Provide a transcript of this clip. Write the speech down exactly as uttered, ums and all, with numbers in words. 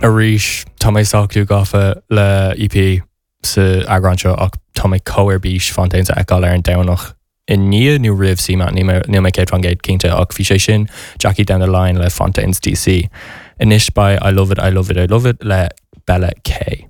Arís tá mé sách gafa le EP sa eagrán seo ach tá mé chomh ar bís Fontaines a fheiceáil ar an Domhnach i ndiaidh nó roimh CMAT níl mé céad faoin gcéad cinnte ach bhí sé sin Jackie down the line le Fontaines DC. Anois beidh I love it, I love it, I love it le Bella K.